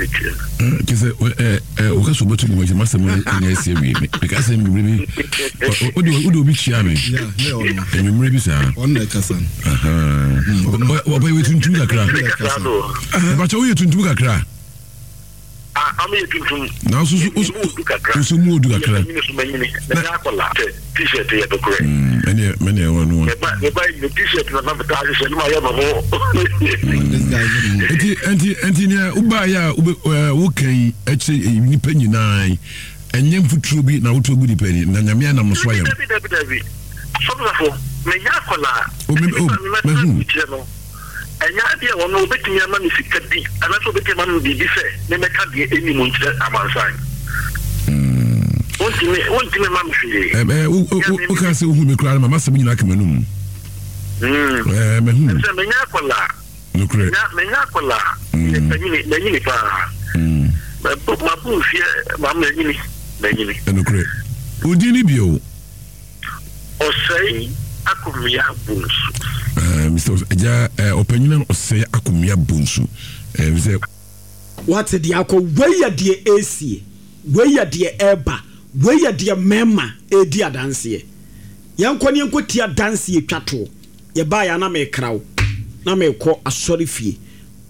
metie no. Kyɛ sɛ woka sɛ wobɛto nnwom akyi masɛm anya asi awie. Meka sɛ nnwummerɛ bi wode obi kyia me anwummerɛ bi saa. Ɔbɛyɛ tuntum kakra. Ɛbakyɛ woyɛ tuntum kakra. Ah, ɔmo yɛ tuntum. Nanso so Emu odu kakra. nso mu odu kakra. Yɛ manyini so manyini. Mɛnyɛ akɔla. Sɛ t-shirt yɛ nokorɛ. Mm, ɛneɛ mɛneɛ ɛwɔ no wa. Meba meba yi me t-shirt na na metaa hyehyɛ no ma yɛ me ho. Nti nti nti nea wobaeɛ a wobɛ ɛɛ woka yi ɛkyerɛ nnipa nyinaa yi ɛnyɛ mfuturo bi na wotu agu nipa ani na nyame anam no so ayɛ no. Dabi dabi dabi. Asɔfo mɛnyɛ akɔla. O me o Nipa mi mɛtena mahu. kyerɛ no. Ɛnyɛ adeɛ a ɔno ɔbɛtumi ama me sika bi anaasɛ ɔbɛtumi ama me biribi sɛ memmɛka deɛ ɛnni mu nkyerɛ amansan. Wontumi, wontumi mma me hwee. Ɛ ɛ wo wo woka sɛ wohu me koraa no ma m'asɛm nyinaa ka m'anum. Ɛɛ mahu. Sɛ menya akwadaa. Nokorɛ. Menya menya akwadaa. Meyɛ panyini, manyini paa. Mabɔ mabɔ mfeɛ ma manyini, manyini. Nokorɛ. Wo din ne bio? Ɔsɛe Akomea Bonsu. Uh, Mr. Agya uh, ɔpanyin Ɔsɛe Akomea Bonsu. Uh, sɛ. Wate deɛ akɔ, wei yɛ deɛ ɛresie, wei yɛ deɛ ɛreba, wei yɛ deɛ mmarima redi adanseɛ. Yɛnkɔ ne yɛnkɔtie adanseɛ twa toɔ. Yɛbaeɛ a na merekra wo, na merekɔ asɔrefie.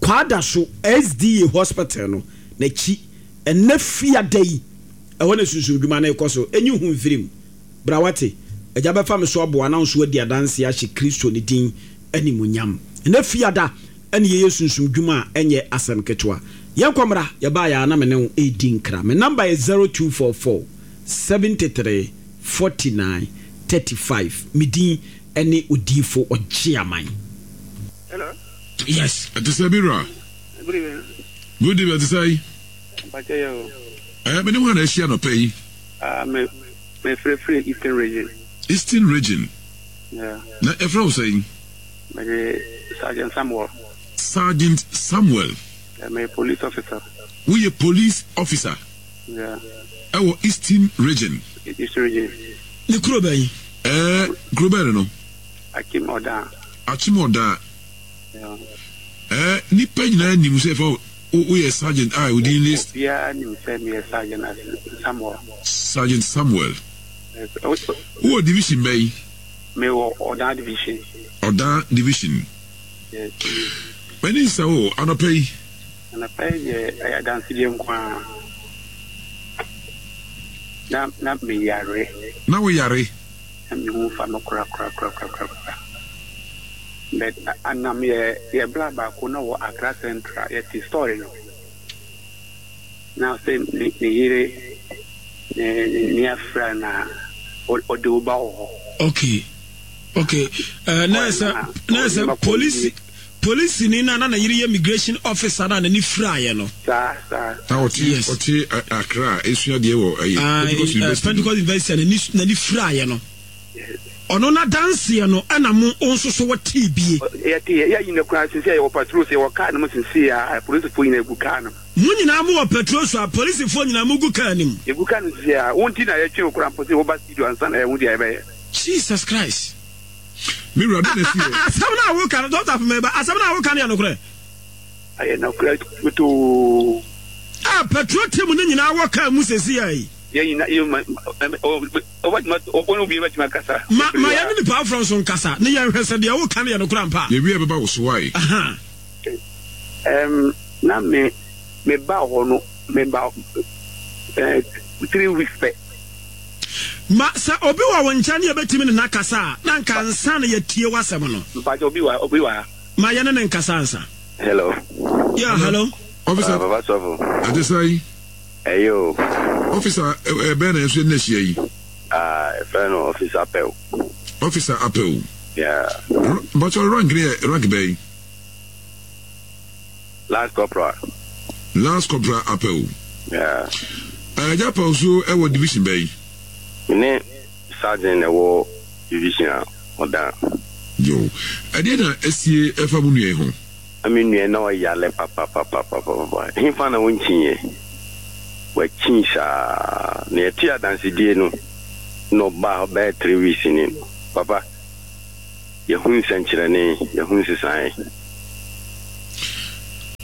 Kwadaso SDA Hospital no n'akyi, ɛnnɛ Fiada yi, ɛhɔ na sunsumdwuma no rekɔ so. Ɛnyi ho mfiri mu. Bra wate, Agya bɛfa me so aboa na wo nso woadi adanseɛ ahyɛ Kristo ne din animuonyam. Ɛnnɛ Fiada ne yɛyɛ sunsum dwuma a ɛnyɛ asɛm ketewa. Yɛnkɔ mmra, yɛbaeɛ ara na me ne wo redi nkra. Me number yɛ 0244 73 49 35. Me din ne Odiyifo Ɔgyeaman. Hello. Yes. Ɛte sɛ bi wura. Good evening. Good evening, ɛte sɛ yi. Mpakyɛ yɛ o. Ɛɛ, me ne hwan na ahyia nɔpɛ yi? Ah, me me frɛ firi Eastern Region. Eastern Region. Yeah. Na ɛfrɛ wo sɛn? Me de Sergeant Samuel. Sergeant Samuel. Yeah, me police officer. Woyɛ police officer? Yeah. Ɛwɔ Eastern Region. Eastern Region. Ne kuro bɛn? Ɛɛ, kuro bɛn no? Akim Oda. Akim Oda. Yeah. Ɛɛ, nipa nyinaa nim sɛ ɛfa woyɛ sergeant a wo din ne. Obiara nim sɛ meyɛ Sergeant Samuel. Sergeant Samuel. Wowɔ division bɛn? Mewɔ Ɔdan division. Ɔdan division. Yes. M'ani nsa wo anɔpa yi. Anɔpa yi deɛ ɛyɛ adansedie nko ara. Na na meyare. Na wo yare? Na me ho fa me kora kora kora kora kora. But anam yɛ yɛ bra baako na wɔ Accra Central yɛ te story no na sɛ ne ne yere ne ne ne afra na ɔde wo ba wɔ hɔ. Okay okay uh, na ɛsɛ na ɛsɛ polisi polisi ni na na ne yere yɛ immigration officer na n'ani firaeɛ no. Saa saa. Na ɔte yes. ɔte Accra esua deɛ wɔ ɛyɛ ah, Pentecost University. Pentecost University n'ani n'ani firaeɛ no. Ɔno n'adanseɛ no ɛna mo nso so wɔtee bie. Yɛte yɛ nyina koraa sisi a yɛwɔ patrol so yɛwɔ kaa no mu sisi a apolisifoɔ nyina gu kaa no mu. Mo nyinaa mo wɔ patrol so a polisifoɔ nyinaa mo gu kaa no mu. Yɛgu kaa no mu sisi a wo nti na yɛtwe wo koraa mpo sɛ woba studio ansa na yɛhu deɛ yɛbɛyɛ. Jesus Christ. Me wura dɛn na ɛsi yɛ. Asɛm no a woka no Doctor Afemeba asɛm no a woka no yɛ nokorɛ? Ɛyɛ nokorɛ totoo. A patrol team no nyinaa wɔ kaa mu sisi a yi. Yɛn nyina yɛ ma Ma ma yɛne nnipa afoforɔ nso nkasa, ne yɛnhwɛ sɛ deɛ woka no yɛ nokorɛ ampa a. Yɛwie a ɛbɛba wo so wae. Aha. Um, na me me ba hɔ no me ba eh, 3 weeks pɛ. Ma sɛ obi wɔ wo nkyɛn ne yɛbɛtumi ne no akasa a, na anka ansa na yɛatie w'asɛm no. Mpakyɛ obi wɔ obi wɔ ha. Ma yɛne no nkasa ansa. Hello. Yeah, hello. Officer. Papa Sɔfo. Ɛte sɛn? Ɛyɛ o. Officer bɛn na yɛn nso yɛne no ahyia yi? Ah, yɛfrɛ no Officer Apɛw. Officer Apɛw. Yeah. Mpakyɛw rank no yɛ rank bɛn? Lance Corporal. Lance Corporal Apɛw. Yeah. Agya Apɛw nso wɔ division bɛn? Me ne Sergeant na ɛwɔ division a ɔda. Yo. Ɛdeɛn na asie ɛfa mo nua yi ho? Na me nua na ɔyare papapapapapa. Hefa na ɔnkyiiɛ? Wakyin saa. Na yɛtee adansedie no na ɔbaa hɔ bɛyɛ 3 weeks ni no. Papa, yɛhu nsɛnkyerɛnne, yɛhu nsesaeɛ.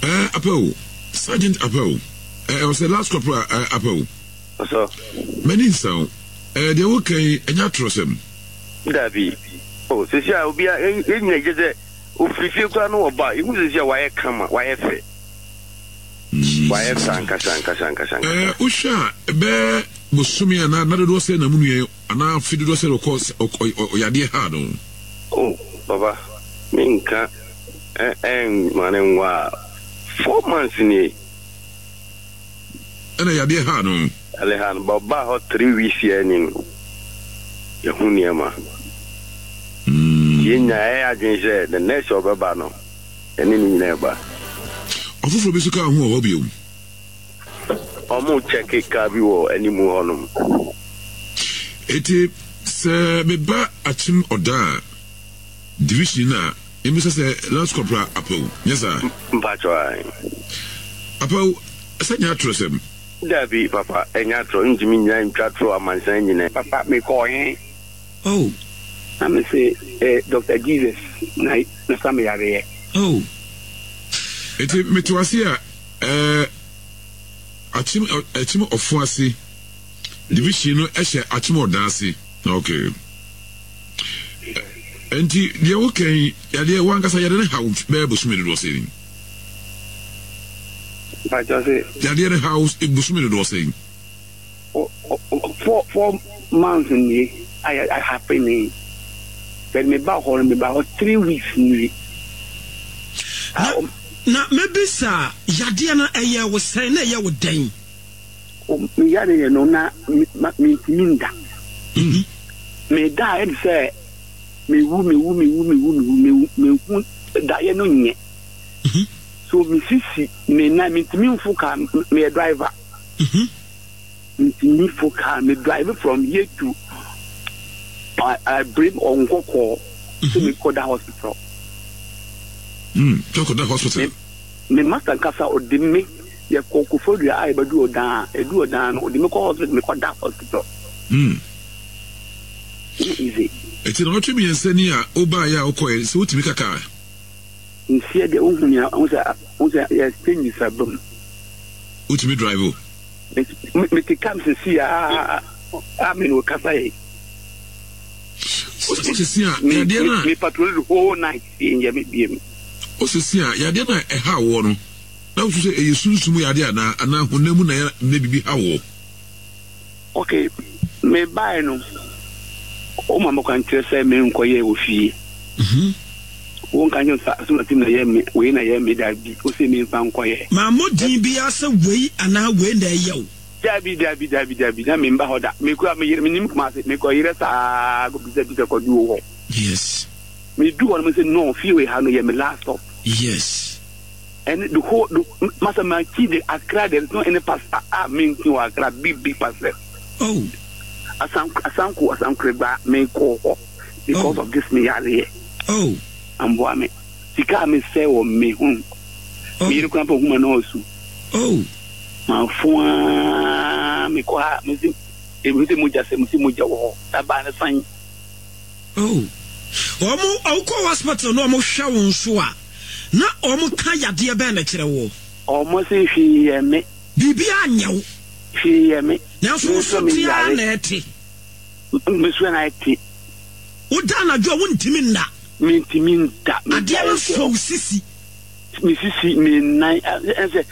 Ɛɛ, Apɛw, sɛ. Sergeant Apawu, eh, ɔsɛ Last Corporal eh, Apawu. Ɔsɔ. M'ani nsa wo. Eh, deɛ woka yi, ɛnyɛ atorɔsɛm. Dabi. Oh, sisi a obi a yɛn nyina gye sɛ ofiri fie koraa no ɔba a, yɛhu sisi a wayɛ kama, wayɛ fɛ. Wayɛ fɛ ankasa ankasa ankasa ankasa. Eh, wohwɛ a, ɛbɛyɛ bosome anaa nna dodoɔ sɛn na mo nua yi anaa afe dodoɔ sɛn na ɔkɔ ɔyadeɛ haa no? Oh, papa, menka ɛnma no nwa a, 4 months nie. Ɛna yadeɛ haa no? Yadeɛ haa no, but ɔbaa hɔ 3 weeks yɛ ni no, yɛhu nneɛma. Nti yɛn nyinaa yɛyɛ adwene sɛ the next ɔbɛba no, yɛne ne nyinaa ɛba. Ɔfoforɔ bi nso kaa ho wɔ hɔ bio? Ɔmo kyɛke kaa bi wɔ animu hɔnom. Enti sɛ meba Akyem Ɔda a, division no a, memmisa sɛ Lance Corporal Apawu, nyɛ saa? Mpakyɛw, ae. Apawu, sɛ nyɛ atorɔsɛm? Dabi, papa, ɛnyɛ atorɔ. Ntumi nnyina ntwa torɔ amansan nyinaa. Papa mekɔɔ he? Oh. Na me se eh, Doctor Jesus na na sa me yareɛ. Oh. Enti mete wo ase a, eh, Akyem, Akyem Ɔfo ase division no hyɛ Akyem Ɔdan ase. Okay. Enti deɛ woka yi, yadeɛ wankasa yadeɛ no haw bɛyɛ bosome dodoɔ sɛn? Mpakyɛ se. Yadeɛ no haw bosome dodoɔ sɛn? 4 months nie a yɛ happen ni. But me ba hɔ no, me ba hɔ 3 weeks nie. Na na mɛbisa yadeɛ no ɛyɛ wo sɛn na ɛyɛ wo dɛn? Me yadeɛ no na mentumi nda. Me da a ɛde sɛ mewu mewu mewu mewu mewu mewu mehu daeɛ no nyɛ. So me sisi me nan mentumi mfo kaa, meyɛ driver. Mentumi fo kaa, me drive from here to Abirem or Nkɔkɔɔ sɛ mekɔda hospital. Kɔda hospital. Me master nkasa ɔde me yɛkɔ Koforidua a yɛbɛdu Ɔdan a ɛdu Ɔdan no ɔde me kɔ hospital mekɔda hospital. Ɛnyɛ easy. Ɛti na ɔtwe 3 ni a wobaeɛ a wokɔɛ sɛ wotumi ka kaa? Nsia deɛ wohu nea wohu sɛ wohu sɛ yɛ changes aba mu. Wotumi drive o? Mete kam sisi a a me ne wo kasa yi. Osisi a yadeɛ no a. Me patrol the whole night yɛ me biem. Osisi a yadeɛ no a ɛha woɔ no na wosu sɛ ɛyɛ sunsum yadeɛ anaa anaa honam mu na yɛ na biribi ha woɔ. Okay, me bae no, wo ma me kwan kyerɛ sɛ me nkɔ yɛ wɔ fie. Wo nka nkyerɛ sɛ asomasi na yɛ me, wei na yɛ me, dabi, wo se me nfa nkɔ yɛ. Mammɔ din biara sɛ wei anaa wei na ɛyɛ wo. Dabi, dabi, dabi, dabi, na me mba hɔ da. Me kura, me yere, me nim Kumasi, me kɔ yerɛ saa kɔ bisa bisa kɔ du wo hɔ. Yes. Me du hɔ no me se no, fie wei ha no yɛ me last stop. Yes. And the whole the masa manchi de Accra there is no any pastor a menki wɔ Accra big big pastor. Oh. Asanko asanko asankoreba me kɔ hɔ because oh. of this me yareɛ. Oh. Amboa me sika a me sɛ wɔ me ho. Oh. Me yere kura mpo huma na ɔsu. Oh. Ma fo aa me kɔ ha me si ebi sɛ mogya sɛ mo si mogya wɔ hɔ ɛbaa ne san. Oh. Wɔn ɔkɔ hospital na wɔn hwɛ wɔn so a na wɔn ka yadeɛ bɛn na kyerɛ woɔ? Wɔn se hwee yɛ me. Biribiara nyɛ wo. Hwee yɛ me. Nanso wo so te ara na ɛte. Me so na ɛte. Woda anadwo a wontumi nna. Mentumi nda. Adeɛ no sɔ wo sisi. Me sisi, me nan, ɛsɛ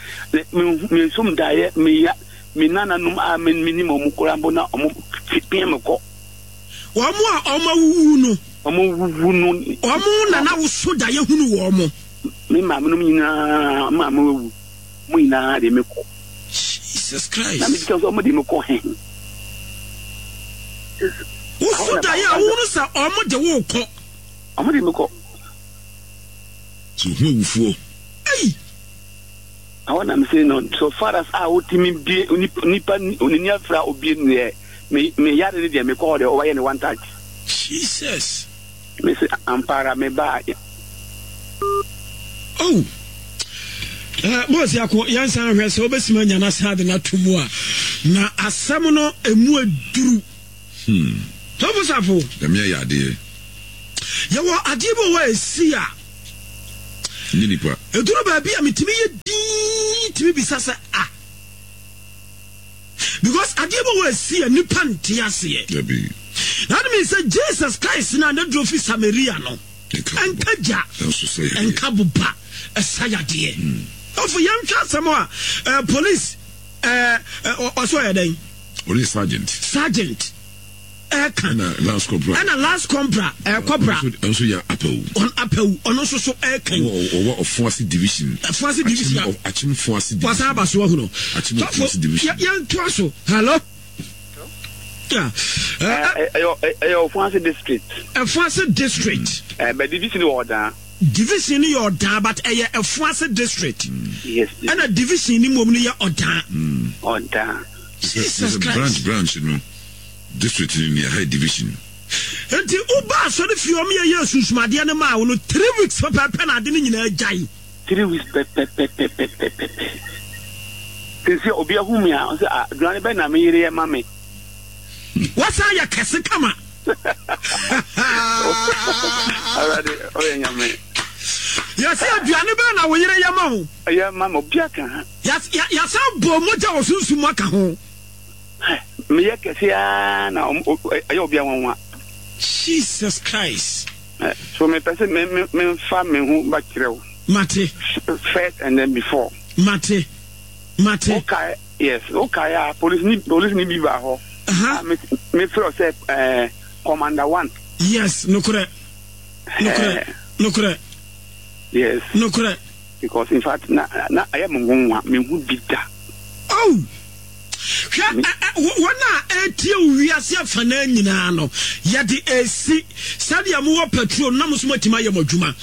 me nsom daeɛ, me ya, me nananom a menim wɔn koraa mpo na wɔn pia me kɔ. Wɔn a wɔn awuwu no. Wɔn awuwu no. Wɔn na na woso daeɛ hunu wɔn. Me maame nom nyinaa, maame wawu, wɔn nyinaa de me kɔ. Jesus Christ. Na me bisa sɛ wɔn de me kɔ he. Woso daeɛ a wohunu sɛ wɔn de wo kɔ. Wɔn de me kɔ. So hu awufoɔ. Ei. Ɛhɔ na me se no, so far as a wotumi bie nipa onini afira obie no deɛ. Me me yare ne deɛ mekɔ hɔ deɛ ɔbɛyɛ ne one touch. Jesus. Me se ampa ara me ba. Oh. Uh, Bɔs ako yɛnsan hwɛ sɛ wobɛsima anya no asan de no ato mu a na asɛm no ɛmu aduru. Hmm. Tɔfo safo. Nyame ayɛ adeɛ. Yɛwɔ adeɛ bi wɔ hɔ a ɛsi a. Nye nipa. Ɛduru baabi a metumi yɛ dii tumi. bisa sɛ ah because adeɛ bi wɔ asi a nipa nte aseɛ. Dabi. That means sɛ Jesus Christ na ne duro fi Samaria no ɛnka gya ɛnka boba ɛsa yadeɛ. Ɔfo yɛnhwɛ asɛm a eh, police eh, eh, ɔsɛ ɔyɛ dɛn? Ɔyɛ sergeant. Sergeant ɛka. Ɛna last corporal. Ɛna last corporal ɛɛ corporal. Ɔno nso yɛ apawu. Ɔno apawu ɔno nso so ɛka yi. Ɔwɔ Ɔfoase division. Ɔfoase division. Akyem Foase division. Wasan aba so ahunu. Akyem Ɔfoase division. Yɛn to aso. Hello. Yeah. Ɛyɛ Ɔfoase district. Ɔfoase district. Ɛɛ bɛ division wɔ Ɔdan. Division no yɛ Ɔdan but ɛyɛ Ɛfoase district. Yes. Ɛna division no mmom no yɛ Ɔdan. Ɔdan. Jesus Christ. Branch branch no district no ni ɛha yɛ division. Nti wo ba asɔre fie ɔmo yɛ yɛ sunsumadeɛ no maa wo no 3 weeks pɛpɛɛpɛ na ade no nyinaa gyae. 3 weeks pɛpɛpɛpɛpɛpɛ. Sisi obi ahu mi a ɔsɛ ah aduane bɛ na me yere yɛ ma me. Wasan yɛ kɛse kama. Awurade ɔyɛ nyame. Yɛsɛ aduane bɛn na wo yere yɛ ma wo? Yɛ ma me obi aka ha. Yɛsan bɔ mogya wɔ sunsum mu aka ho. Meyɛ kɛse ara na ɛyɛ obi anwanwa. Jesus Christ. So mepɛ sɛ memfa me ho ba kyerɛ wo. Mate. First and then before. Mate. Mate. Wokae yes wokae a police ni police ni bi ba hɔ. Uh-huh. Me me frɛ sɛ ɛɛ commander one. Yes nokorɛ. Nokorɛ. Nokorɛ. Yes. Nokorɛ. Because in fact na na ɛyɛ me nwonwa me hu bi da. Oh! Hwɛ wɔn a ɛretie wo wiase afanaa nyinaa no, yɛde esi sɛdeɛ mowɔ petrol na mo nso moatumi ayɛ mo adwuma.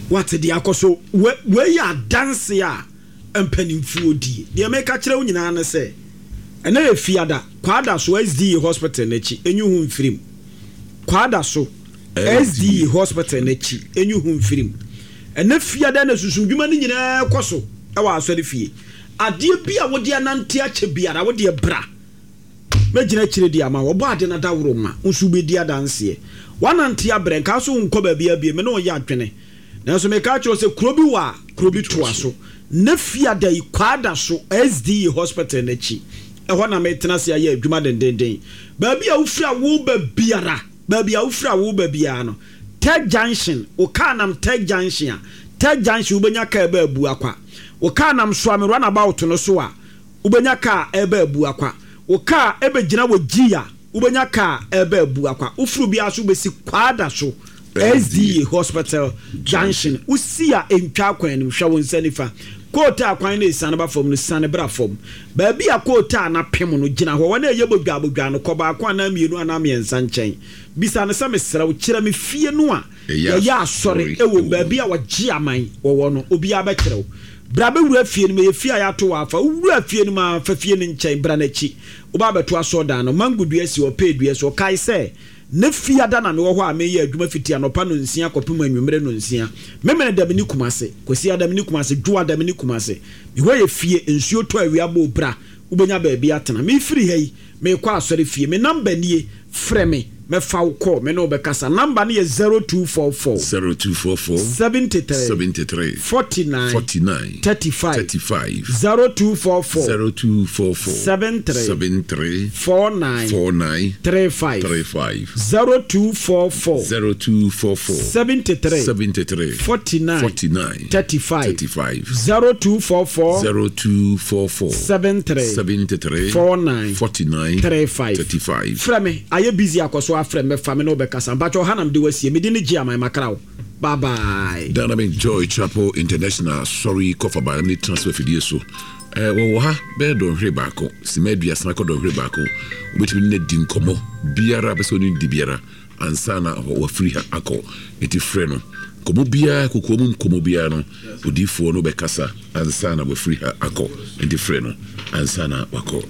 Wate deɛ akɔ so? Wei yɛ adanse a mpanimfoɔ die. Deɛ meka kyerɛ wo nyinaa ne sɛ, ɛnɛ yɛ Fiada, Kwadaso SDA Hospital no akyi, enyi ho mfiri mu. Kwadaso SDA Hospital no akyi, enyi ho mfiri mu. Ɛnɛ Fiada na sunsumdwuma no nyinaa kɔ so wɔ asɔrefie. Adeɛ bi a wode anante akyɛ biara, wo deɛ bra. Mɛgyina akyire de ama wo. Ɔbɔ ade no adaworo ma wo nso wobɛdi adanseɛ. Woanante abrɛ, nka so wonkɔ baabiara bio, me ne wo yɛ adwene. Nanso meka akyerɛ wo sɛ kuro bi wɔ a, kuro bi toa so. Nnɛ Fiada yi, Kwadaso SDA Hospital no akyi, ɛhɔ na metena ase ayɛ adwuma dendeenden. Baabi a wofiri a woreba biara, baabi a wofiri a woreba biara no, Tech Junction, wo kaa nam Tech Junction a, Tech Junction wobɛnya kaa ɛba Abuakwa. Wo kaa nam Suame Runabout no so a, wobɛnya kaa ɛreba Abuakwa. Wo kaa ɛbɛgyina wɔ G a, wobɛnya kaa ɛreba Abuakwa. Wofiri obiara so wobɛsi Kwadaso SDA Hospital Junction. Wosi a ɛntwa kwan no mu, hwɛ wo nsa nifa. Kootaa kwan no ɛsiane ba fam no, siane bra fam. Baabi a kootaa no apem no, gyina hɔ. Wɔn a ɛyɛ bodwaa bodwaa no, kɔ baako anaa mmienu anaa mmiɛnsa nkyɛn. Bisa no sɛ, Mesrɛ wo, kyerɛ me fie no a yɛyɛ asɔre wom, baabi a wɔgye aman wɔ hɔ no. Obiara bɛkyerɛ wo. Bra bɛwura fie no mu. Ɛyɛ fie a yɛato hɔ afa. Wowura fie no mu ara, fa fie no nkyɛn. Bra n'akyi. Woba abɛto asɔredan no. Mango dua si hɔ, pear dua si hɔ. Kae sɛ, na Fiada na mewɔ hɔ a mereyɛ adwuma fiti anɔpa nnɔnsia kɔpem anwummere nnɔnsia. Memeneda menni Kumase. Kwasiada menni Kumase. Dwoada menni Kumase. Me hɔ yɛ fie. Nsuo tɔ awia bɔ o, bra. Wobɛnya baabi atena. Merefiri ha yi, merekɔ asɔrefie. Me namba nie. Frɛ me, mɛfa wo kɔ, me ne wo bɛkasa. Number no yɛ 0244. 0244. 73. 73. 49. 49. 35. 35. 0244. 0244. 73. 73. 49. 49. 35. 35. 0244. 0244. 73. 73. 49. 49. 35. 35. 0244. 0244. 73. 73. 49. 49. 35. 35. Frɛ me, ayɛ busy akɔ so afrɛ me mɛfa me ne wo bɛkasa. Mpakyɛw ha na mede wo asie. Me din ne Gyeaman makra wo. Bye bye. Dynamic Joy Chapel International Asɔre kɔfa ba ne transfer fidie so. Eh, wɔwɔ ha bɛyɛ dɔnhwere baako, sima 30 kɔ dɔnhwere baako. Wobɛtumi ne no adi nkɔmmɔ biara bɛ sɛ ɔne no di biara ansa na wafiri ha akɔ. Enti frɛ no. Nkɔmmɔ biara, kokoa mu nkɔmmɔ biara no, odiyifoɔ no bɛkasa ansa na wafiri ha akɔ. Enti frɛ no ansa na wakɔ.